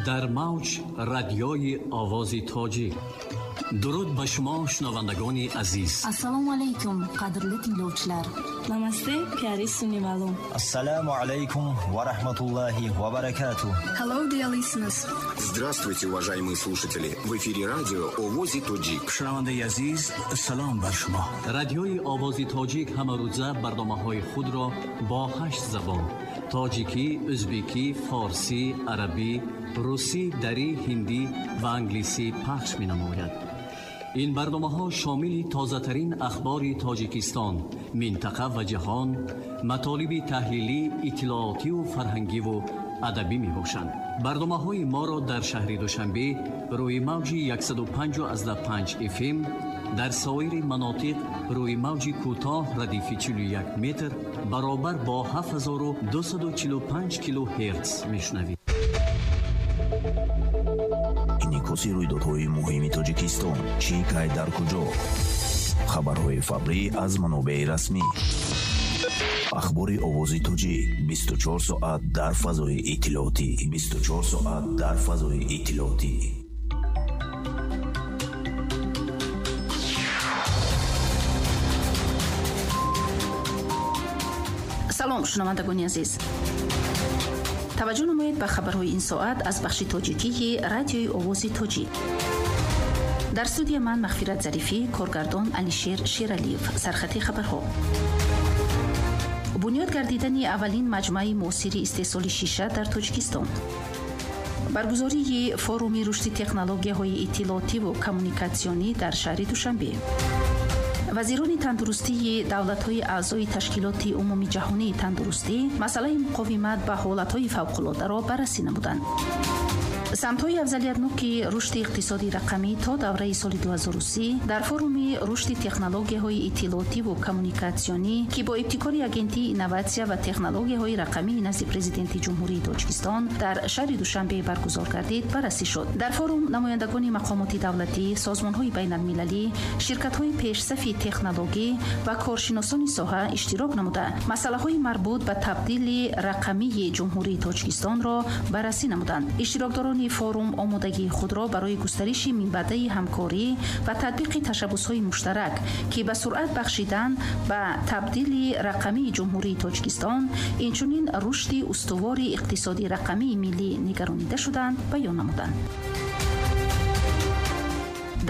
Дар мавҷ радиои Овози Тоҷик. Дуруд ба шумо, шунавандагони азиз. Ассалому алайкум, қадрли tinglovchilar. Намасте, пиари сунивалу. Ассалому алайкум ва раҳматуллоҳи ва баракатуh. Hello, dear listeners. Здравствуйте, уважаемые слушатели. В эфире радио Овози Тоҷик. Шунавандаи азиз, салом бар шумо. Радиои Овози Тоҷик ҳамарӯза барномаҳои худро бо 8 забон: тоҷикӣ, ӯзбекӣ, форсӣ, арабӣ, русӣ, дарӣ, ҳиндӣ ва англисӣ пахш менамояд. Ин барномаҳо шомили тозатарин ахбори Тоҷикистон, минтақа ва ҷаҳон, матолиби таҳлилӣ, иттилоотиву фарҳангиву адабӣ мебошанд. Барномаҳои моро дар шаҳри Душанбе рӯи мавҷи 105,5 FM, дар соири манотиқ рӯи мавҷи кӯтоҳ радифи 41 метр баробар бо 7245 килогерц мешунавед. Инъикоси рӯйдодҳои муҳими Тоҷикистон, чӣ, кай, дар куҷо. Хабарҳои фаврӣ аз манобеи расмӣ. Ахбори Овози Тоҷик 24 соат дар фазои иттилоотӣ. 24 соат дар фазои иттилоотӣ. Салом, шунавандагони азиз. Таваҷҷӯҳ намоед ба хабарҳои ин соат аз бахши тоҷикии радиои Овози Тоҷик. Дар студия ман Мағфират Зарифӣ, коргардон Алишер Шералиев. Сархати хабарҳо. Бунёд гардидани аввалин маҷмӯаи муосири истеҳсоли шиша дар Тоҷикистон. Баргузории форуми рушди технологияҳои иттилоотиву коммуникатсионӣ дар шаҳри Душанбе. Вазирони тандурустии давлатҳои аъзои Ташкилоти Умумиҷаҳонии тандурустӣ масъалаи муқовимат ба ҳолатҳои фавқулодаро баррасӣ намуданд. Самтҳои афзалиятноки рушди иқтисоди рақамӣ то давраи соли 2030 дар форуми рушди технологияҳои иттилоотиву коммуникатсионӣ, ки бо ибтикори Агентии инноватсия ва технологияҳои рақамии назди Президенти Ҷумҳурии Тоҷикистон дар шаҳри Душанбе баргузор гардид, баррасӣ шуд. Дар форум намояндагони мақомоти давлатӣ, созмонҳои байналмилалӣ, ширкатҳои пешсафи технологӣ ва коршиносони соҳа иштирок намуда, масъалаҳои марбут ба табдили рақамии Ҷумҳурии Тоҷикистонро баррасӣ намуданд. Иштирокдорони форум омодагии худро барои густариши минбаъдаи ҳамкорӣ ва татбиқи ташаббусҳои муштарак, ки ба суръат бахшидан ба табдили рақамии Ҷумҳурии Тоҷикистон, инчунин рушди устувори иқтисоди рақамии миллӣ нигаронида шуданд, баён намуданд.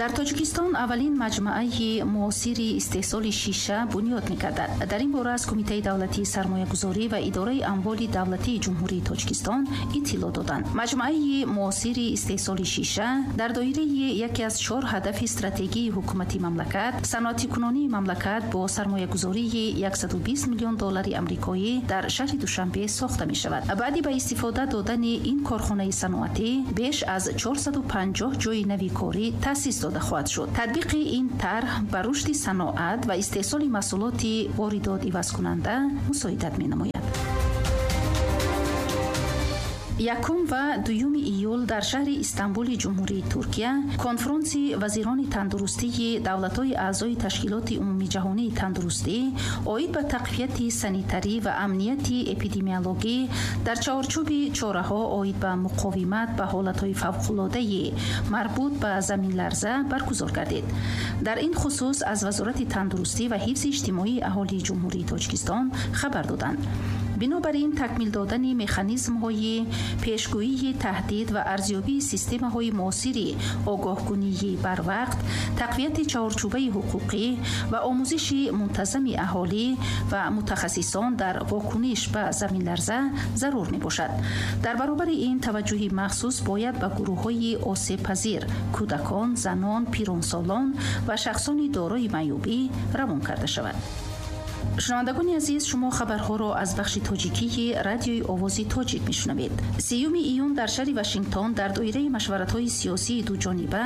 Дар Тоҷикистон аввалин маҷмӯаи муосири истеҳсоли шиша бунёд мегардад. Дар ин бора аз Кумитаи давлатии сармоягузорӣ ва идораи амволи давлатии Ҷумҳурии Тоҷикистон иттилоъ доданд. Маҷмӯаи муосири истеҳсоли шиша дар доираи яке аз 4 ҳадафи стратегии ҳукумати мамлакат, саноатикунонии мамлакат бо сармоягузории 120 миллион доллари амрикоӣ дар шаҳри Душанбе сохта мешавад. Баъди ба истифода додани ин корхонаи саноатӣ беш аз 450 ҷойи нави корӣ таъсис дода хоҳад шуд. Татбиқи ин тарҳ ба рушди саноат ва истеҳсоли маҳсулоти воридот ивазкунанда мусоидат менамояд. 1 ва 2 июл дар шаҳри Истанбули Ҷумҳурии Туркия конфронси вазирони тандурустии давлатҳои аъзои Ташкилоти Умумиҷаҳонии тандурустӣ оид ба тақвияти санитарӣ ва амнияти эпидемиологӣ дар чаҳорчӯби чораҳо оид ба муқовимат ба ҳолатҳои фавқулодаи марбут ба заминларза баргузор гардид. Дар ин хусус аз Вазорати тандурустӣ ва ҳифзи иҷтимоии аҳолии Ҷумҳурии Тоҷикистон хабар доданд. Бинобар ин такмил додани механизмҳои пешгӯии таҳдид ва арзёбии системаҳои муосири огоҳкунии барвақт, тақвияти чаҳорчӯбаи ҳуқуқӣ ва омӯзиши мунтазами аҳолӣ ва мутахассисон дар вокуниш ба заминларза зарур мебошад. Дар баробари ин таваҷҷӯҳи махсус бояд ба гурӯҳҳои осебпазир, кӯдакон, занон, пиронсолон ва шахсони дорои маъюбӣ равон карда шавад. Шунавандагони азиз, шумо хабарҳоро аз бахши тоҷикии радиои Овози Тоҷик мешунавед. 3 июн дар шаҳри Вашингтон дар доираи машваратҳои сиёсии дуҷониба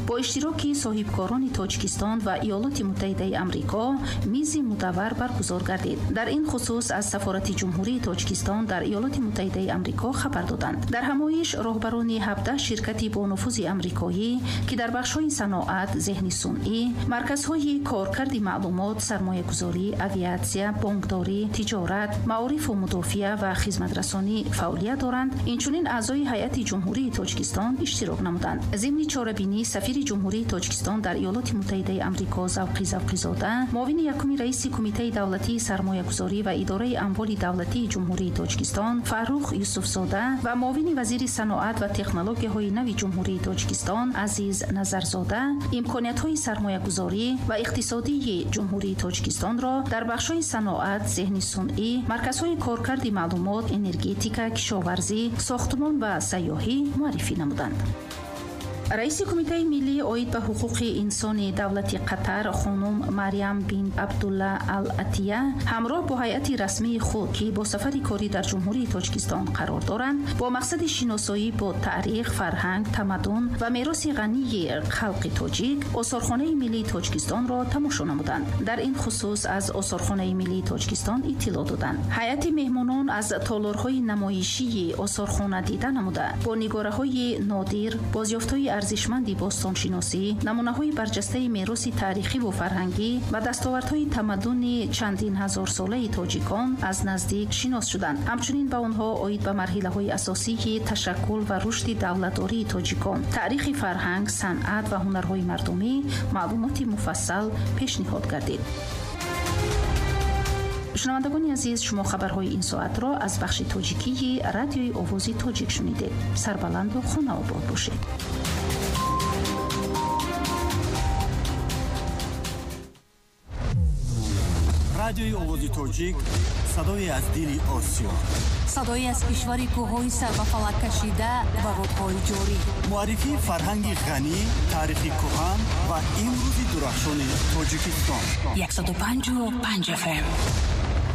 бо иштироки соҳибкорони Тоҷикистон ва Иёлоти Муттаҳидаи Амрико мизи мудаввар баргузор гардид. Дар ин хусус аз Сафорати Ҷумҳурии Тоҷикистон дар Иёлоти Муттаҳидаи Амрико хабар доданд. Дар ҳамоиш роҳбарони 17 ширкати бонуфузи амрикоӣ, ки дар бахшҳои саноат, зеҳни сунъӣ, марказҳои коркарди маълумот, сармоягузорӣ, авиатсия Авиатсия, бонкдорӣ, тиҷорат, маорифу мудофиа ва хизматрасонӣ фаъолият доранд, инчунин аъзои ҳайати Ҷумҳурии Тоҷикистон иштирок намуданд. Зимни чорабинӣ сафири Ҷумҳурии Тоҷикистон дар Иёлоти Муттаҳидаи Амрико Завқи Завқизода, муовини якуми раиси Кумитаи давлатии сармоягузорӣ ва идораи амволи давлатии Ҷумҳурии Тоҷикистон Фаррух Юсуфзода ва муовини вазири саноат ва технологияҳои нави Ҷумҳурии Тоҷикистон Азиз Назарзода имкониятҳои сармоягузорӣ ва иқтисодии Ҷумҳурии Тоҷикистонро дар бахшҳои саноат, зеҳни сунъӣ, марказҳои коркарди маълумот, энергетика, кишоварзӣ, сохтмон ва сайёҳӣ муаррифӣ намуданд. Раиси Кумитаи миллии оид ба ҳуқуқи инсони давлати Қатар хонум Марьям бин Абдулла ал Атия ҳамроҳ бо ҳайати расмии худ, ки бо сафари корӣ дар Ҷумҳурии Тоҷикистон қарор доранд, бо мақсади шиносоӣ бо таърих, фарҳанг, тамаддун ва мероси ғании халқи тоҷик Осорхонаи миллии Тоҷикистонро тамошо намуданд. Дар ин хусус аз Осорхонаи миллии Тоҷикистон иттилоъ доданд. Ҳайати меҳмонон аз толорҳои намоишии осорхона дида намуда, бо нигораҳои нодир, бозёфтҳои арзишманди бостоншиносӣ, намунаҳои барҷастаи мероси таърихиву фарҳангӣ ва дастовардҳои тамаддуни чандин ҳазорсолаи тоҷикон аз наздик шинос шуданд. Ҳамчунин ба онҳо оид ба марҳилаҳои асосии ташаккул ва рушди давлатдории тоҷикон, таърихи фарҳанг, санъат ва ҳунарҳои мардумӣ маълумоти муфассал пешниҳод гардид. Шунавандагони азиз, шумо хабарҳои ин соатро аз бахши тоҷикии Радиои Овози Тоҷик шунидед. Сарбаланду хонаобод бошед. Радиои Овози Тоҷик, садое аз дили Осиё, садое аз кишвари кӯҳҳои сарбафалак кашида ва рудҳои ҷорӣ, муаррифии фарҳанги ғанӣ, таърихи кӯҳан ва имрӯзи дурахшони Тоҷикистон. 105,5 FM.